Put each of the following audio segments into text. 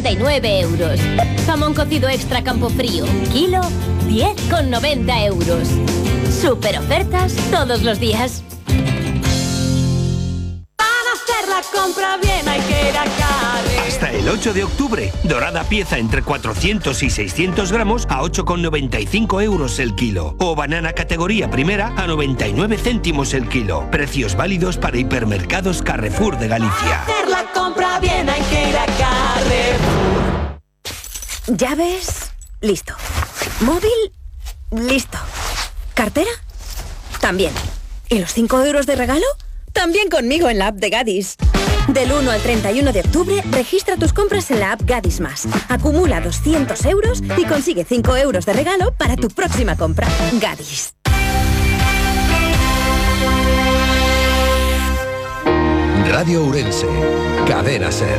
99 euros. Jamón cocido extra Campofrío, kilo, 10,90 euros. Super ofertas todos los días. Para hacer la compra bien hay que ir a Carre. Hasta el 8 de octubre, dorada pieza entre 400 y 600 gramos a 8,95 euros el kilo. O banana categoría primera a 99 céntimos el kilo. Precios válidos para hipermercados Carrefour de Galicia. Para hacer la compra bien hay que ir a Carrefour. Llaves, listo. Móvil, listo. ¿Cartera? También. ¿Y los 5 euros de regalo? También conmigo en la app de Gadis. Del 1 al 31 de octubre, registra tus compras en la app Gadis Más. Acumula 200 euros y consigue 5 euros de regalo para tu próxima compra. Gadis. Radio Ourense, Cadena SER.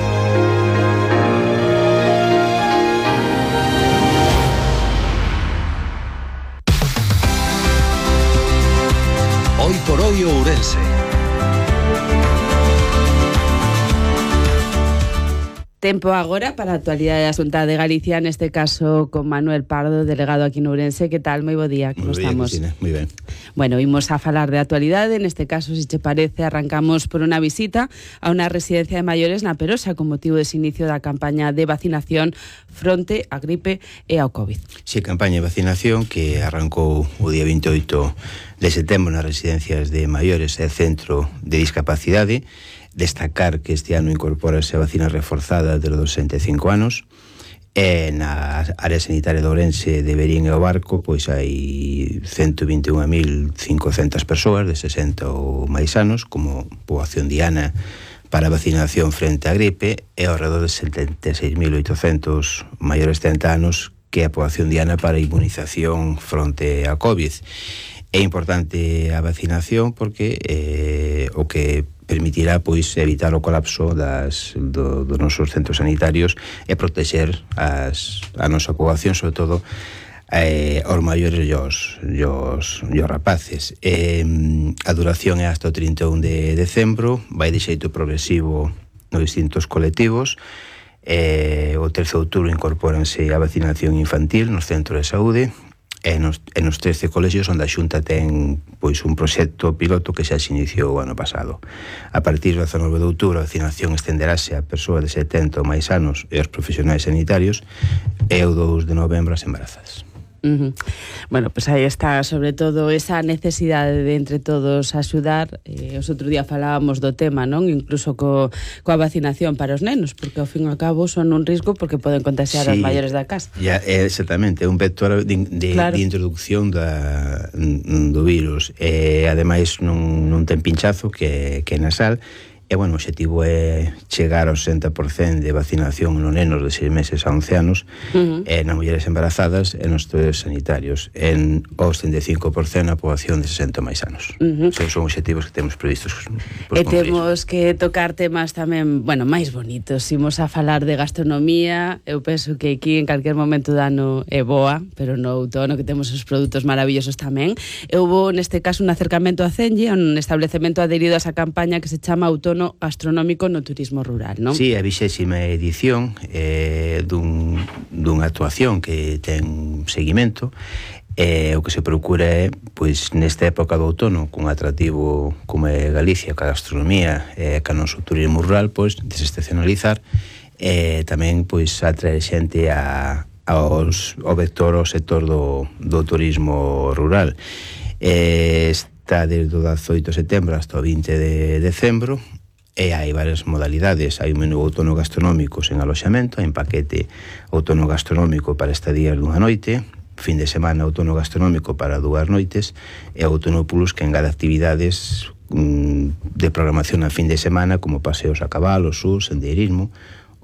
Hoy por hoy Ourense. Tempo agora para a actualidade da Xunta de Galicia, neste caso con Manuel Pardo, delegado aquí en Ourense. Que tal? Moi bo día, como estamos? Cristina, moi ben. Bueno, imos a falar de actualidade. Neste caso, se che parece, arrancamos por unha visita a unha residencia de maiores na Perosa con motivo dese inicio da campaña de vacinación fronte á gripe e ao COVID. Si, campaña de vacinación que arrancou o día 28 de setembro nas residencias de maiores e centro de discapacidade. Destacar que este ano incorpórase a vacina reforzada de los 65 anos. Na área sanitaria de Ourense, de Verín e o Barco, pois hai 121.500 persoas de 60 ou máis anos como poboación diana para vacinación frente á gripe e ao redor de 76.800 maiores de 30 anos que é a poboación diana para inmunización fronte á COVID. É importante a vacinación porque o que permitirá pois evitar o colapso dos nosos centros sanitarios e protexer a nosa poboación, sobre todo aos maiores e os rapaces. A duración é hasta o 31 de decembro, vai de xeito progresivo nos distintos colectivos. O 13 de outubro incorpóranse a vacinación infantil nos centros de saúde. E nos 13 colexios onde a Xunta ten pois un proxecto piloto que xa se iniciou o ano pasado. A partir do 19 de outubro a vacinación estenderase a persoas de 70 ou máis anos e aos profesionais sanitarios e o 2 de novembro as embarazadas. Bueno, pues aí está sobre todo esa necesidade de entre todos axudar. Os outro día falábamos do tema, non? Incluso coa vacinación para os nenos, porque ao fin e ao cabo son un risco porque poden contagiar aos maiores da casa. Ya, exactamente, é un vector de introducción do virus. Ademais non ten pinchazo que é nasal. E, bueno, o objetivo é chegar ao 60% de vacinación nos nenos de 6 meses a 11 anos, nas mulleres embarazadas e nos estudios sanitarios, en os 35% na poboación de 60 máis anos. Son objetivos que temos previstos. E temos que tocar temas tamén, bueno, máis bonitos. Imos a falar de gastronomía. Eu penso que aquí en calquer momento do ano é boa, pero no outono que temos os produtos maravillosos tamén. Houbo neste caso un acercamento a Cenlle, un establecemento adherido a esa campaña que se chama Outono Gastronómico no Turismo Rural, non? Sí, a 20ª edición dunha actuación que ten seguimento. O que se procura é, pois, nesta época do outono, cun atractivo como é Galicia, ca gastronomía e ca noso turismo rural, pois, desestacionalizar e tamén, pois, atraer xente ao vector, ao sector do turismo rural. Está desde o 18 de setembro hasta o 20 de decembro. E hai varias modalidades. Hai un menú outono gastronómico sen aloxamento, hai un paquete outono gastronómico para estadías dunha noite, fin de semana outono gastronómico para 2 noites e outono plus que engade actividades de programación a fin de semana como paseos a cabalo, sur, sendeirismo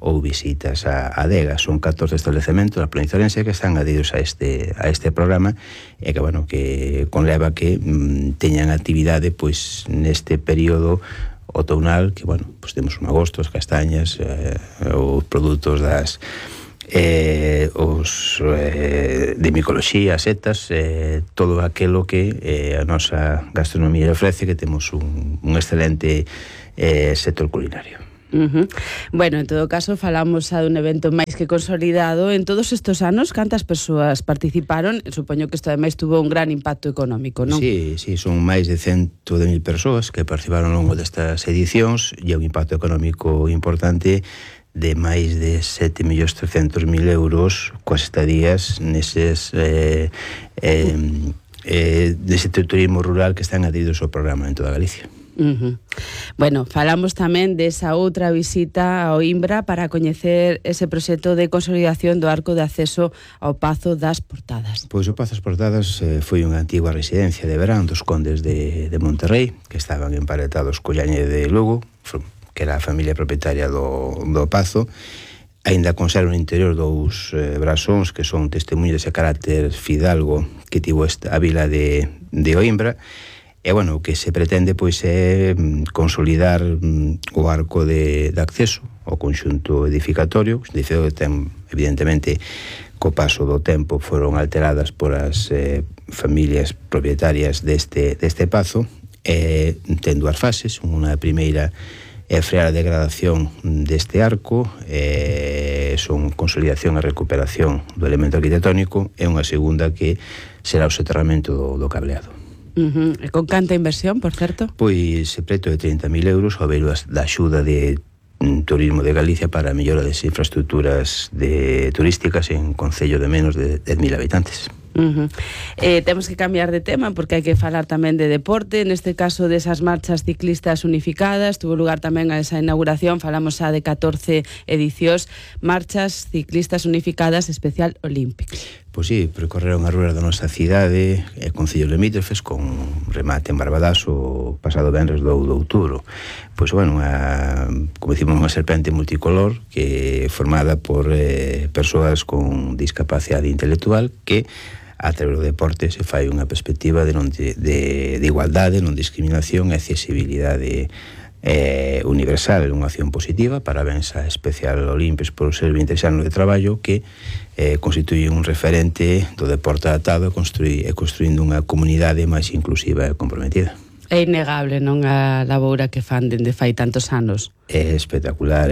ou visitas a adegas. Son 14 establecementos da provincia de Ourense que están adheridos a este programa e que, bueno, que conleva que teñan actividade pois neste período outonal, que, bueno, pues temos un agosto, as castañas, os produtos das de micoloxía, setas, todo aquilo que a nosa gastronomía ofrece, que temos un excelente sector culinario. Bueno, en todo caso, falamos xa dun evento máis que consolidado. En todos estes anos, cantas persoas participaron? Supoño que isto ademais tuvo un gran impacto económico, non? Sí, son máis de 110.000 persoas que participaron ao longo destas edicións e un impacto económico importante de máis de 7.300.000 euros coas estadías neses dese turismo rural que están adheridos ao programa en toda Galicia. Bueno, falamos tamén desa outra visita ao Imbra para coñecer ese proxecto de consolidación do arco de acceso ao Pazo das Portadas. Pois o Pazo das Portadas foi unha antigua residencia de verán dos condes de Monterrey, que estaban emparentados co Llañe de Lugo, que era a familia propietaria do Pazo. Aínda conserva no interior dous brasóns que son testemunhos dese carácter fidalgo que tivo a vila de Oimbra. E, bueno, o que se pretende, pois, é consolidar o arco de acceso ao conxunto edificatorio. O edificio ten, evidentemente, co paso do tempo foron alteradas por as familias propietarias deste pazo. Ten dúas fases. Unha primeira é frear a degradación deste arco, son consolidación e recuperación do elemento arquitectónico, e unha segunda que será o soterramento do cableado. E con canta inversión, por certo? Pois preto de 30.000 euros ao ver da axuda de Turismo de Galicia para a mellora das infraestructuras turísticas en concello de menos de 10.000 habitantes. Temos que cambiar de tema porque hai que falar tamén de deporte, neste caso desas marchas ciclistas unificadas. Tuvo lugar tamén a esa inauguración, falamos xa de 14 edicións, marchas ciclistas unificadas especial Olímpicos. Pois sí, percorreron as ruas da nosa cidade e concellos limítrofes con remate en Barbadas o pasado venres do outubro. Pois, bueno, como decimos, unha serpente multicolor que formada por persoas con discapacidade intelectual que a través do deporte se fai unha perspectiva de igualdade, non discriminación e accesibilidade universal, unha acción positiva. Parabéns a Especial Olímpicos por ser 20 anos de traballo que constituye un referente do deporte adaptado e construindo unha comunidade máis inclusiva e comprometida. É innegable, non, a laboura que fan dende fai tantos anos. É espectacular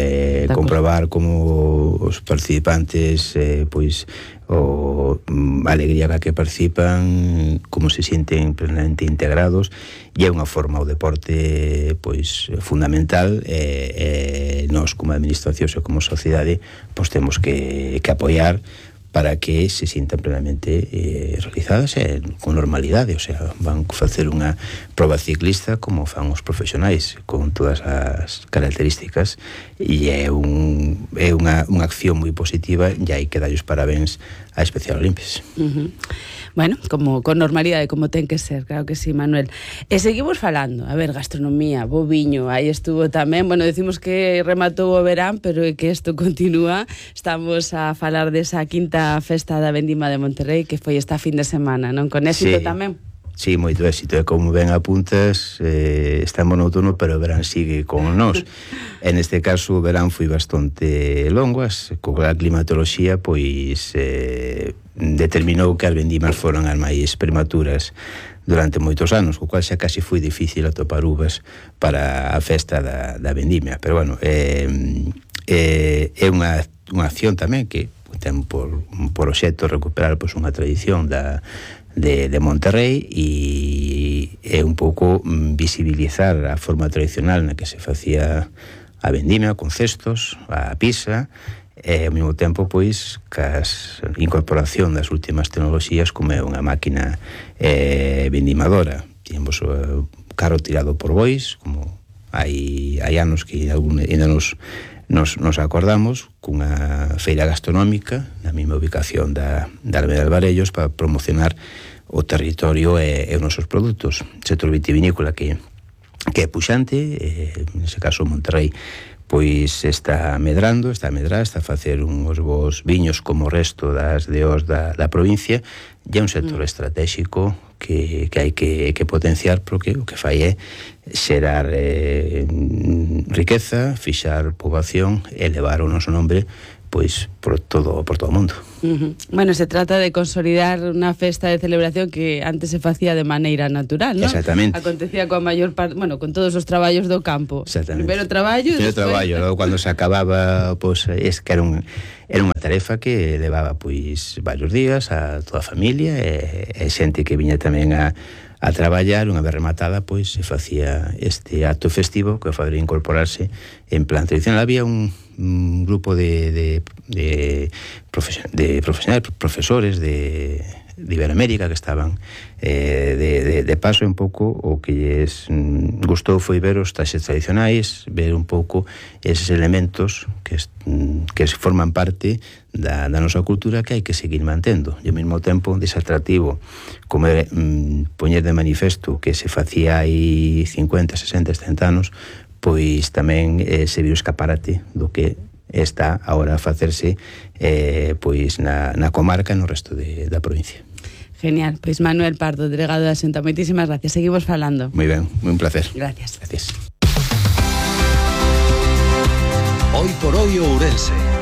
comprobar como os participantes pois a alegría ca que participan, como se sienten plenamente integrados, e é unha forma o deporte pois fundamental, e nós como administracións e como sociedade pois temos que apoiar para que se sintan plenamente realizadas con normalidade, o sea, van facer unha proba ciclista como fan os profesionais, con todas as características, e é unha acción moi positiva, e hai que darlles parabéns a Especial Olímpicos. Bueno, como con normalidade, como ten que ser, claro que sí, Manuel. E seguimos falando, a ver, gastronomía, bo viño, aí estuvo tamén, bueno, decimos que rematou o verán, pero é que isto continúa. Estamos a falar desa quinta festa da Vendima de Monterrey, que foi esta fin de semana, non? Con éxito tamén. Sí, moito éxito, e como ben apuntas, estamos no outono, pero o verán sigue con nós. En este caso, o verán foi bastante longo, coa climatoloxía, pois determinou que as vendimas foran as máis prematuras durante moitos anos, co cual xa casi foi difícil atopar uvas para a festa da vendimia. Pero, bueno, é unha acción tamén que ten por obxecto recuperar pois unha tradición de Monterrey, e é un pouco visibilizar a forma tradicional na que se facía a vendimia, con cestos, a pisa, e ao mesmo tempo pois cas incorporación das últimas tecnoloxías, como é unha máquina vendimadora. Tínhamos o carro tirado por bois, como hai anos que ainda nos acordamos, cunha feira gastronómica na mesma ubicación da Alameda de Alvarellos, para promocionar o territorio e os nosos produtos. O sector vitivinícola que é puxante, nese caso Monterrey pois está medrando, está a facer uns bons viños como o resto das DOs da provincia, e é un sector estratégico que hai que potenciar, porque o que fai é xerar riqueza, fixar poboación e levar o noso nombre pois por todo o mundo. Bueno, se trata de consolidar unha festa de celebración que antes se facía de maneira natural, ¿no? Exactamente. Acontecía coa maior parte, bueno, con todos os traballos do campo. Exactamente. Primeiro traballo, logo cando se acababa, pois es que era unha tarefa que levaba pois varios días a toda a familia e xente que viña tamén a traballar. Unha vez rematada, pois se facía este acto festivo que faría incorporarse en plan tradicional. Había un grupo de profesionales, profesores de Iberoamérica que estaban de paso. Un pouco o que lles gustou foi ver os traxes tradicionais, ver un pouco eses elementos que forman parte da nosa cultura, que hai que seguir mantendo, e ao mesmo tempo desatractivo como poñer de manifesto que se facía aí 50, 60, 70 anos, pois tamén se viu escaparate do que está agora a facerse pois na comarca e no resto da provincia. Genial, pois Manuel Pardo, delegado da Xunta, moitísimas gracias, seguimos falando. Moi ben, un placer. Gracias. Hoy por hoy Ourense.